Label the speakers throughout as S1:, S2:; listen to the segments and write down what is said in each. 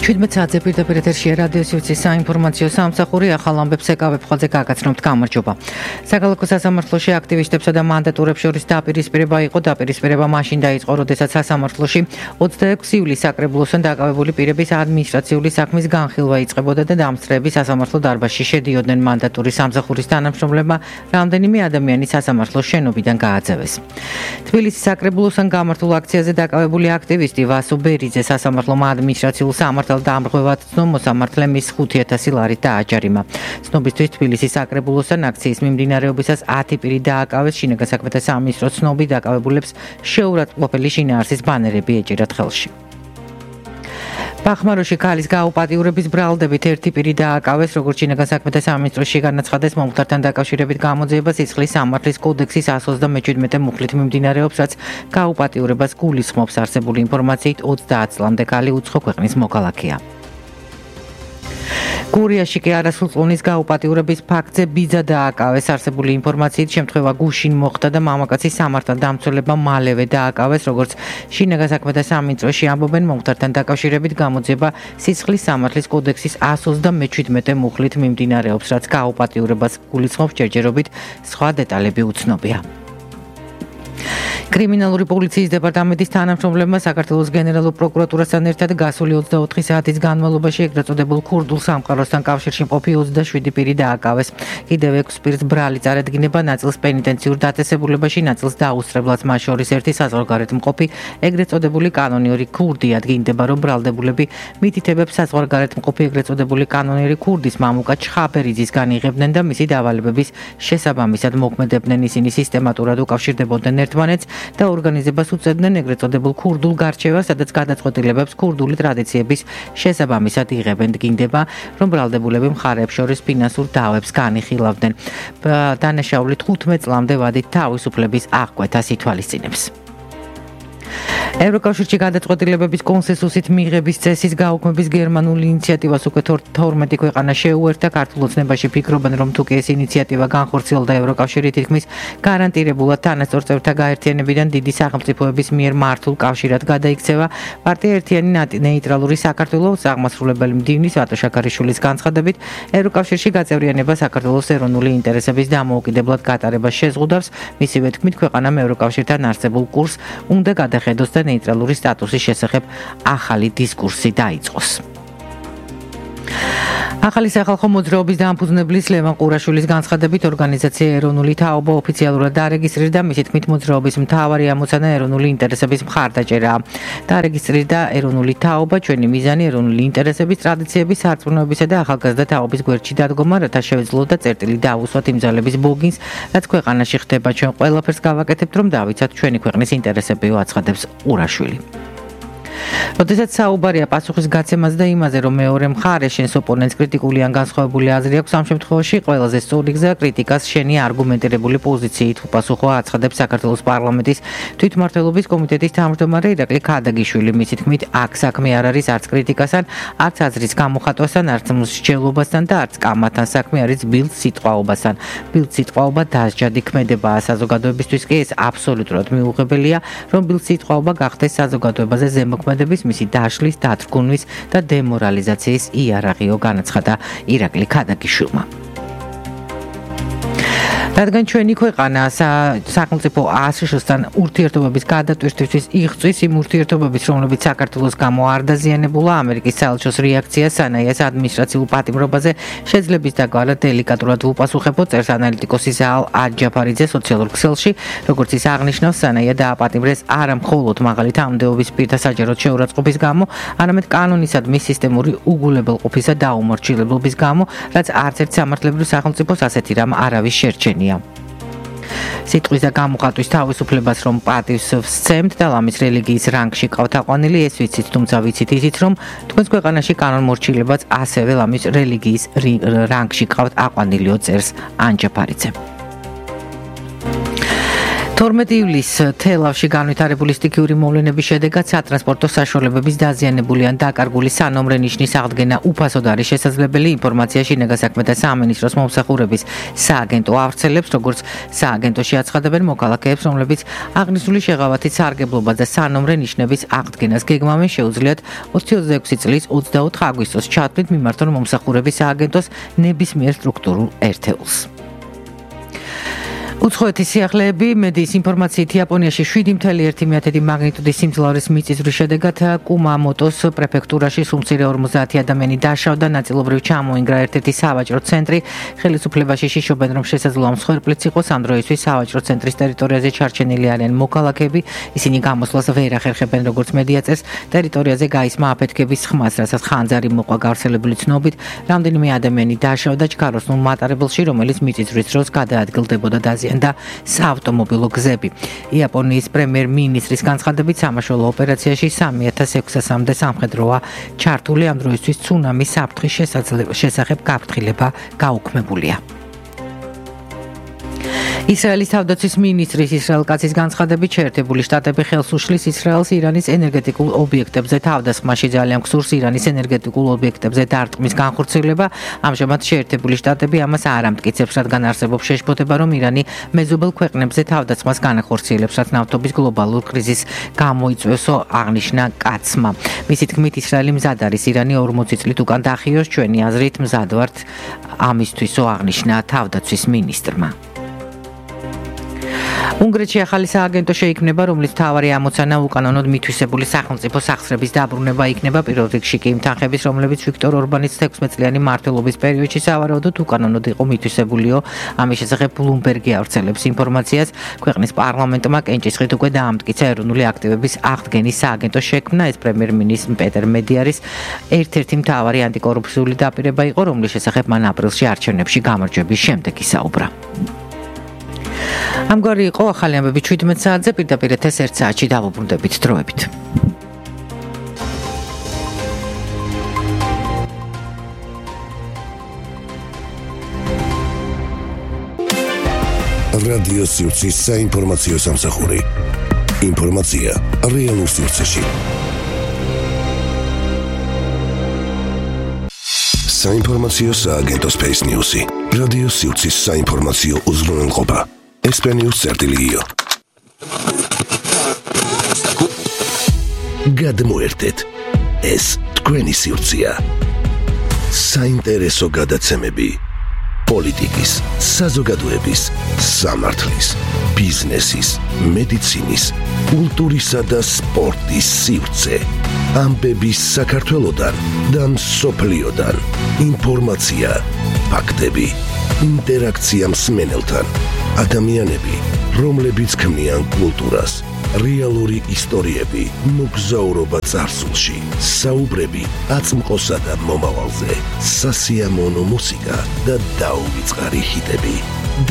S1: 17 საათზე პირდაპირ ეთერშია რადიო სიუცის საინფორმაციო სამსახური ახალ ამბებს ეკავებ ხოლმე გაგაცნობთ გამარჯობა. Საქალაქო სასამართლოში აქტივისტებსა და მანდატურებს შორის დაპირისპირება იყო. დაპირისპირება მაშინ დაიწყო, როდესაც სასამართლოში 26 ივლისს საკრებულოსთან დაკავებული პირების ადმინისტრაციული საქმის განხილვა იწყებოდა და დამსწრეები სასამართლო დარბაზში შედიოდნენ. მანდატურის სამსახურის თანამშრომლებმა რამდენიმე ადამიანი სასამართლოს შენობიდან გააძევეს. თბილისის საკრებულოსთან გამართულ აქციაზე დაკავებული აქტივისტი ვასო ბერიძე სასამართლომ ადმინისტრაციულ სამართალ დამრღვევად ცნო მოსამართლემ ის 5,000 ლარით დააჯარიმა. ცნობისთვის თბილისის საკრებულოსთან აქციის მიმდინარეობისას 10 პირი დააკავეს. შინაგან საქმეთა სამინისტროს ცნობით დაკავებულებს შეურაცხმყოფელი შინაარსის ბანერები ეჭირათ ხელში. ბახმაროში ქალის გაუპატიურების ბრალდებით 1 პირი დააკავეს, როგორც შინაგან საქმეთა სამინისტროში განაცხადეს, მომხდართან დაკავშირებით გამოძიება სისხლის სამართლის კოდექსის 127 მუხლით მიმდინარეობს, რაც გაუპატიურებას გულისხმობს. არსებული ინფორმაციით 30 წლამდე ქალი უცხო ქვეყნის მოქალაქეა. გურიაში კი არასრულწლოვნის გაუპატიურების ფაქტზე ბიძა დააკავეს. არსებული ინფორმაციით შემთხვევა გუშინ მოხდა და მამაკაცის სამართალდამცველებმა მალევე დააკავეს, როგორც შინაგან საქმეთა სამინისტროში ამბობენ, მომხდართან დაკავშირებით გამოძიება სისხლის სამართლის კოდექსის 127 მუხლით მიმდინარეობს, რაც გაუპატიურებას გულისხმობს. ჯერჯერობით სხვა დეტალები უცნობია. კრიმინალური პოლიციის დეპარტამენტის თანამშრომლებმა საქართველოს გენერალურ პროკურატურასთან ერთად გასული 24 საათის განმავლობაში ეგრეთ წოდებულ ქურდულ სამყაროსთან კავშირში მყოფი 27 პირი დააკავეს. კიდევ 6 პირს ბრალი წარედგინება, ნაწილს პენიტენციურ დაწესებულებაში, ნაწილს დაუსწრებლად, მათ შორის ერთი საზღვარგარეთ მყოფი ეგრეთ წოდებული კანონიერი ქურდი. ადგინდება, რომ ბრალდებულები მითითებებს საზღვარგარეთ მყოფი ეგრეთ წოდებული კანონიერი ქურდის მამუკა ჩხაბერიძისგან იღებდნენ და მისი დავალებების შესაბამისად მოქმედებდნენ. ისინი სისტემატურად უკავშირდებოდნენ ერთმანეთს და ორგანიზებას უწევდნენ ეგრეთ წოდებულ ქურდულ გარჩევას, სადაც გადაწყვეტილებებს ქურდული ტრადიციების შესაბამისად იღებენ. დგინდება, რომ ბრალდებულები მხარეებს შორის ფინანსურ დავებს განიხილავდნენ. დანაშაული 15 წლამდე ვადით თავისუფლების აღკვეთას ითვალისწინებს. ევროკავშირში გადაწყვეტილებების კონსენსუსით მიღების წესის გაუქმების გერმანული ინიციატივას უკვე 12 ქვეყანა შეუერთა. ქართულ ოცნებაში ფიქრობენ, რომ თუ კი ეს ინიციატივა განხორციელდა, ევროკავშირი თითქმის გარანტირებულად თანასწორ წევრთა გაერთიანებიდან დიდი სახელმწიფოების მიერ მართულ კავშირად გადაიქცევა. პარტია ერთიანი ნეიტრალური საქართველოს აღმასრულებელი მდივნის ვატო შაქარიშვილის განცხადებით, ევროკავშირში გაწევრიანება საქართველოს ეროვნული ინტერესების დამოუკიდებლად გატარებას შეზღუდავს. მისივე თქმით, ქვეყანამ ევროკავშირთან არსებულ კურსს უნდა გადახედოს და ნეიტრალური სტატუსის შესახებ ახალი დისკურსი დაიწყოს. ახალი სახალხო მოძრაობის დამფუძნებლის ლევან ყურაშვილის განცხადებით, ორგანიზაცია ეროვნული თაობა ოფიციალურად დარეგისტრირდა. მისი თქმით, მოძრაობის მთავარი ამოცანა ეროვნული ინტერესების მხარდაჭერაა. დარეგისტრირდა ეროვნული თაობა, ჩვენი მიზანი ეროვნული ინტერესების, ტრადიციების, სარწმუნოებისა და ახალგაზრდა თაობის გვერდში დადგომა, რათა შევეძლოთ და წერტილი დაუსვათ იმ ძალების ბოგინს, რაც ქვეყანაში ხდება. ჩვენ ყველაფერს გავაკეთებთ, რომ დავიცავთ ჩვენი ქვეყნის ინტერესები, აცხადებს ყურაშვილი. როდესაც საუბარია პასუხის გაცემას და იმაზე, რომ მეორე მხარე შენს ოპონენტს კრიტიკული ან განსხვავებული აზრი აქვს, ამ შემთხვევაში ყველაზე სწორი გზა კრიტიკას შენი არგუმენტირებული პოზიციით უპასუხო, აცხადებს საქართველოს პარლამენტის თვითმმართველობის კომიტეტის თავმჯდომარე ირაკლი ქადაგიშვილი. მისი თქმით, აქ საქმე არ არის არც კრიტიკასთან, არც აზრის გამოხატვასთან, არც მსჯელობასთან და არც კამათთან. საქმე არის ბილდ სიტყვაობასთან. ბილდ სიტყვაობა დასჯადი ქმედებაა. საზოგადოებისთვის კი ეს აბსოლუტურად მიუღებელია, რომ ბილდ სიტყვაობა გახდეს საზოგადოებაზე ზემოქმედების, მისი დაშლის, დათრგუნვის და დემორალიზაციის იარაღიო, განაცხადა ირაკლი ქადაგიშვილმა. რადგან ჩვენი ქვეყანა სახელმწიფო აშშ-თან ურთიერთობების გადატვირთვისთვის იღწვის იმ ურთიერთობების, რომლებიც საქართველოს გამო არ დაზიანებულა, ამერიკის საელჩოს რეაქცია სანაიას ადმინისტრაციულ პატიმრობაზე შეძლების დაგვარა დელიკატურად უპასუხებო, წერს ანალიტიკოსი ზაალ აჯაფარიძე სოციალურ ქსელში. როგორც ის აღნიშნავს, სანაია დააპატიმრეს არა მხოლოდ მაღალი თანამდებობის პირთა საჯაროდ შეურაცხყოფის გამო, არამედ კანონისადმი სისტემური უგულებელყოფისა და დაუმორჩილებლობის გამო, რაც არც ერთ სამართლებრივ სახელმწიფოს ასეთი რამ არავის შერჩენია. სიტყვის და გამოხატვის თავისუფლებას რომ პატივს ვსცემთ და ლამის რელიგიის რანგში ყავთ აყვანილი, ეს ვიცით, თუმცა ვიცით ისიც, რომ თქვენს ქვეყანაში კანონმორჩილებაც ასევე ლამის რელიგიის რანგში ყავთ აყვანილიო, წერს ანჯაფარიძე. 12 ივლისს თელავში განვითარებული სტიქიური მოვლენების შედეგად სატრანსპორტო საშუალებების დაზიანებული ან დაკარგული სანომრე ნიშნის აღდგენა უფასოდ არის შესაძლებელი. ინფორმაცია შინაგან საქმეთა სამინისტროს მომსახურების სააგენტო ავრცელებს, როგორც სააგენტოში აცხადებენ მოქალაქეებს, რომლებიც აღნიშნული შეღავათით სარგებლობა და სანომრე ნიშნების აღდგენას გეგმავენ, შეუძლიათ 2026 წლის 24 აგვისტოს ჩათვლით მიმართონ მომსახურების სააგენტოს ნებისმიერ სტრუქტურულ ერთეულს. უცხოეთის სიახლეები მედიის ინფორმაციით იაპონიაში 7.1 მაგნიტუდის სიმძლავრის მიწისძვრის შედეგად კუმამოტოს პრეფექტურაში სულ მცირე 50 ადამიანი დაშავდა, ნაწილობრივ ჩამოინგრა ერთ-ერთი სავაჭრო ცენტრი. ხელისუფლებაში შიშობენ, რომ შესაძლოა მსხვერპლიც იყოს. ამ დროისთვის სავაჭრო ცენტრის ტერიტორიაზე ჩარჩენილი არიან მოქალაქეები. ისინი გამოსვლას ვერ ახერხებენ, როგორც მედია წერს. ტერიტორიაზე გაისმა აფეთქების ხმას, რასაც ხანძარი მოყვა გავრცელებული ცნობით. რამდენიმე ადამიანი დაშავდა ჩქაროსნულ მატარებელში, რომელიც მიწისძვრის დროს გადაადგილდებოდა და საავტომობილო გზები. იაპონიის პრემიერ-მინისტრის განცხადებით, სამაშველო ოპერაციაში 3600-მდე სამხედროა ჩართული. ამ დროისთვის ცუნამის საფრთხის შესახებ გაფრთხილება გაუქმებულია. ისრაელის თავდაცვის მინისტრის ისრაელ კაცის განცხადებით, შეერთებული შტატები ხელს უშლის ისრაელს ირანის ენერგეტიკულ ობიექტებზე თავდასხმაში. ძალიან გსურს ირანის ენერგეტიკულ ობიექტებზე დარტყმის განხორციელება. ამჟამად შეერთებული შტატები ამას არ ამტკიცებს, რადგან არსებობს შეშფოთება, რომ ირანი მეზობელ ქვეყნებზე თავდასხმას განახორციელებს, რაც ნავთობის გლობალურ კრიზისს გამოიწვევსო, აღნიშნა კაცმა. მისი თქმით, ისრაელი მზად არის ირანი 40 წლით უკან დახიოს. ჩვენი აზრით მზად ვართ ამისთვისო, აღნიშნა თავდაცვის მინისტრმა. უნგრეთში ახალი სააგენტო შეიქმნება, რომლის მთავარი ამოცანა უკანონოდ მითვისებული სახელმწიფო სახსრების დაბრუნება იქნება. პირველ რიგში კი იმ თანხების, რომლებიც ვიქტორ ორბანის 16 წლიანი მმართველობის პერიოდში სავარაუდოდ უკანონოდ იყო მითვისებულიო. ამის შესახებ ბლუმბერგი ავრცელებს ინფორმაციას. ქვეყნის პარლამენტმა კენჭისყრით უკვე დაამტკიცა ეროვნული აქტივების აღდგენის სააგენტოს შექმნა. ეს პრემიერ-მინისტრ პეტერ მედიარის ერთ-ერთი მთავარი ანტიკორუფციული დაპირება იყო, რომლის შესახებ მან აპრილში არჩევნებში გამარჯვების შემდეგ ისაუბრა. ამგვარი იყო ახალი ამბები 17 საათზე, პირდაპირ ეთერს 1 საათში დავუბრუნდებით დროებით.
S2: რადიო სივრცის საინფორმაციო სამსახური. ინფორმაცია რეალურ სივრცეში. საინფორმაციო სააგენტო Space News-ი. რადიო სივრცის საინფორმაციო უზრუნველყოფა. SP-News.io. გადმოერთეთ. ეს თქვენი სივრცეა. საინტერესო გადაცემები. პოლიტიკის, საზოგადოების, სამართლის, ბიზნესის, მედიცინის, კულტურისა და სპორტის სივრცე. ამბების საქართველოდან და მსოფლიოდან. ინფორმაცია, ფაქტები, ინტერაქცია მსმენელთან. ადამიანები, რომლებიც ქმნიან კულტურას, რეალური ისტორიები, მოგზაურობა წარსულში, საუბრები აწმყოსა და მომავალზე, სასიამოვნო მუსიკა და დაუვიწყარი ჰიტები.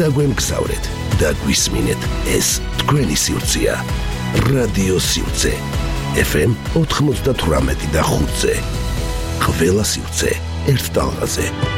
S2: დაგვემგზავრეთ და გვისმინეთ, ეს თქვენი სივრცეა. რადიო სივრცე. FM 98 და 5-ზე. ყველა სივრცე ერთ ტალღაზე.